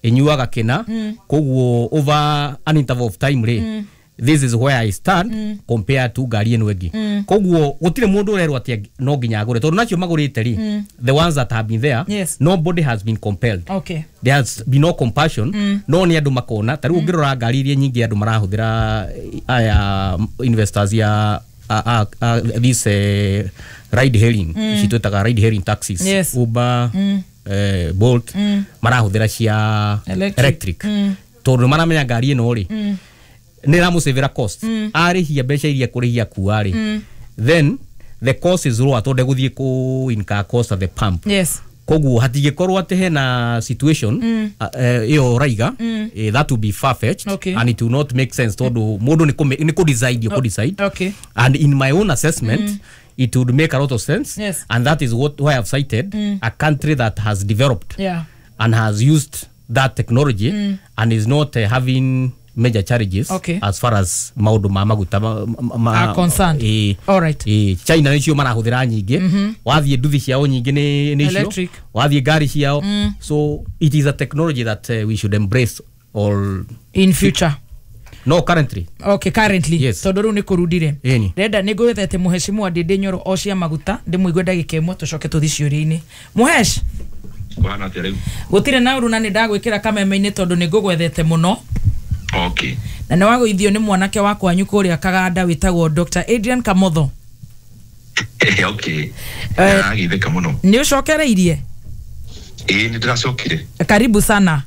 Ĩnyuaga kĩna. Koguo over an interval of time rĩ, this is where I stand compared to ngari ĩno ĩngĩ. Koguo gũtirĩ mũndũ ũrerwo atĩ no nginya agũre, tondũ nacio magũrĩte rĩ, the ones that have been there, nobody has been compelled. There has been no compulsion. No nĩ andũ makona ta rĩu ũngĩrora ngari iria nyingĩ andũ marahũthĩra, aya investors ya this ride hailing, ici twĩtaga ride hailing taxis, Uber, Bolt, marahũthĩra cia electric. Electric, tondũ maramenya ngari ĩno rĩ, nĩ ĩramũcĩvĩra cost. Arĩhia mbeca iria kũrĩhia kua rĩ, then the cost is lower, tondũ ndegũthiĩ kũ incur cost at the pump. Koguo hatingĩkorwo atĩ hena situation ĩyo ũraiga, that will be far fetched and it will not make sense, tondũ mũndũ nĩ kũ decide, ũkũ decide. And in my own assessment, it would make a lot of sense, and that is what why I've cited a country that has developed and has used that technology and is not having major challenges as far as maũndũ ma maguta are concerned. All right. China nĩcio marahũthĩra nyingĩ. Wathiĩ nduthi ciao nyingĩ nĩ icio. Electric. Wathiĩ ngari ciao. So it is a technology that we should embrace all in future. No, currently. Okay, currently. Yes. Tondũ rĩu nĩ kũrundire. Ĩni. Ndĩrenda nĩ ngwĩthete mũhecimu wa Ndĩndĩ Nyoro o cia maguta, ndĩmũigue ndagĩka 1, tũcoke tũthiĩ ciũria-inĩ. Mũhesh. Kũhana atĩa rĩu? Gũtirĩ na ũru, na nĩ ndagwĩkĩra kameme-inĩ tondũ nĩ ngũgwethete mũno. Na nĩ wagũithio nĩ mwanake wa kwanyu kũrĩa Kaganda wĩtagwo Dr. Adrian Kamotho. Ndĩragithĩka mũno. Nĩ ũcokereirie? Ĩĩ, nĩ ndĩracokire. Karibu sana.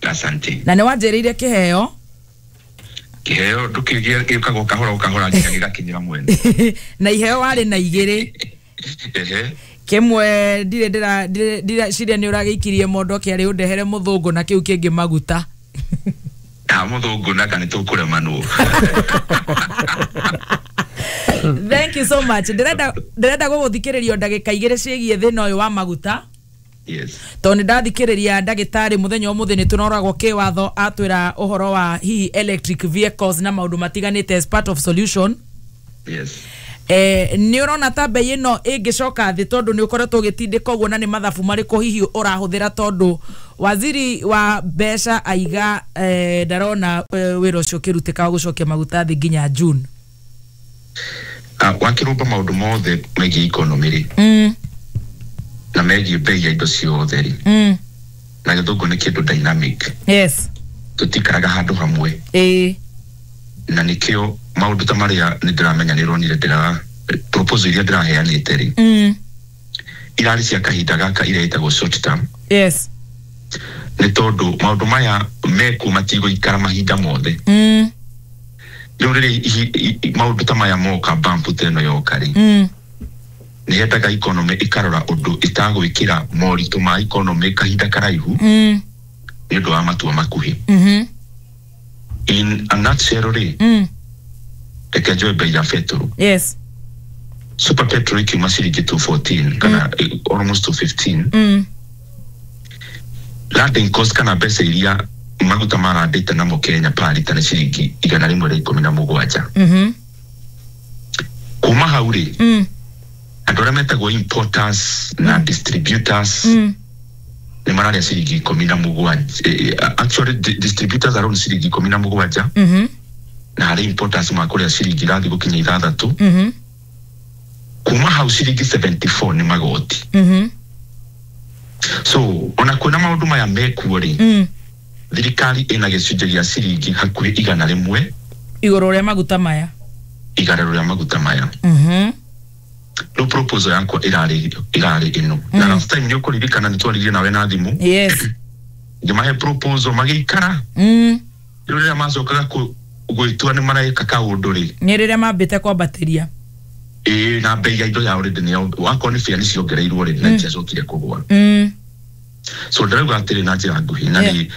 Asante. Na nĩ wanjĩrĩire kĩheo. Kĩheo ndũkĩgĩa, gĩũkaga o kahora o kahora nginya gĩgakinyĩra mwene. Na iheo warĩ na igĩrĩ. Kĩmwe ndirĩ ndĩraciria nĩ ũragĩikirie mondo kĩarĩ ũndehere mũthũngũ, na kĩu kĩngĩ maguta. Na mũthũngũ naka nĩ tũkũremanwo. Thank you so much. Ndĩrenda gũgũthikĩrĩrio ndagĩka 2 ciĩgiĩ thĩna ũyũ wa maguta. Tondũ nĩ ndathikĩrĩria ndagĩtarĩ mũthenya ũmũthĩ, nĩ tũnoragwo kĩwatho, atwĩra ũhoro wa hihi electric vehicles na maũndũ matiganĩte as part of solution. Nĩ ũrona ta mbei ĩno ĩngĩcoka thĩ, tondũ nĩ ũkoretwo ũgĩtindĩka ũguo, na nĩ mathabu marĩkũ hihi ũrahũthĩra, tondũ waziri wa mbeca aiga ndarona wĩra ũcio ũkĩrutĩka wa gũcokia maguta thĩ nginya June? Wakĩrũmba maũndũ mothe megiĩ economy rĩ, na megiĩ mbei ya indo ciothe rĩ, na gĩthũngũ nĩ kĩndũ dynamic. Tũtikaraga handũ hamwe. Na nĩkĩo maũndũ ta marĩa nĩ ndĩramenya nĩ ũronire ndĩra proposal iria ndĩraheanĩte rĩ, irarĩ cia kahinda gaka, iria ĩtagwo short term. Nĩ tondũ maũndũ maya mekuo matigũikara mahinda mothe. Rĩu rĩrĩa maũndũ ta maya moka, bump ta ĩno yoka rĩ, nĩ hendaga economy ĩkarora ũndũ ĩtagwĩkĩra moritũ ma economy kahinda karaihu nĩ ũndũ wa matua makuhĩ. In a nutshell rĩ, reke njoe bei ya betũrũ. Super petrol ikiuma ciringi 214 kana almost 215, landing cost kana mbeca iria maguta marandĩte namo Kenya per lita nĩ ciringi 117. Kuma hau rĩ, andũ arĩa metagwo importers na distributors nĩ mararĩa ciringi 17. Actually, distributors around ciringi 17, na harĩ importers makũrĩa ciringi irathiĩ gũkinya 6. Kuma hau ciringi 74 nĩ magoti. So ona kwĩna maũndũ maya mekuo rĩ, thirikari ĩna gĩcunjĩ gĩa ciringi hakuhĩ 100 igũrũ rĩa maguta maya. Igũrũ rĩa maguta maya. Rĩu proposal yakwa ĩrarĩ ĩno, na last time nĩ ũkũririkana nĩ twaririe nawe na thimũ. Ngĩmahe proposal, magĩikara. Rĩu rĩrĩa macokaga gwĩtua nĩ mareka kaũndũ rĩ, Nĩ rĩrĩa mambĩte kwambatĩria. Ĩĩ, na bei ya indo ya already nĩ wakorwo nĩ bia nĩ ciongereirwo rĩ, na itiacokire kũgũa. So ndĩrauga atĩrĩ na njĩra nguhĩ,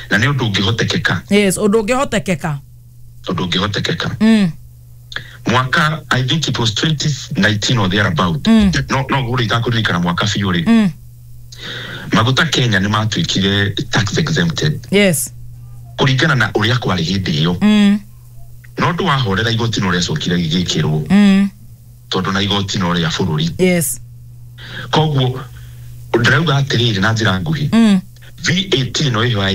na nĩ ũndũ ũngĩhotekeka. Yes, ũndũ ũngĩhotekeka. Ũndũ ũngĩhotekeka. Mwaka, I think it was 2019 or thereabout, no gũrĩ itakũririkana mwaka biũ rĩ, maguta Kenya nĩ matuĩkire tax exempted kũringana na ũrĩa kwarĩ hĩndĩ ĩyo. No ũndũ wahorera, igoti no rĩacokire gĩgĩkĩrwo, tondũ na igoti no rĩa bũrũri. Koguo ndĩrauga atĩrĩrĩ na njĩra nguhĩ, VAT ĩno ĩho ya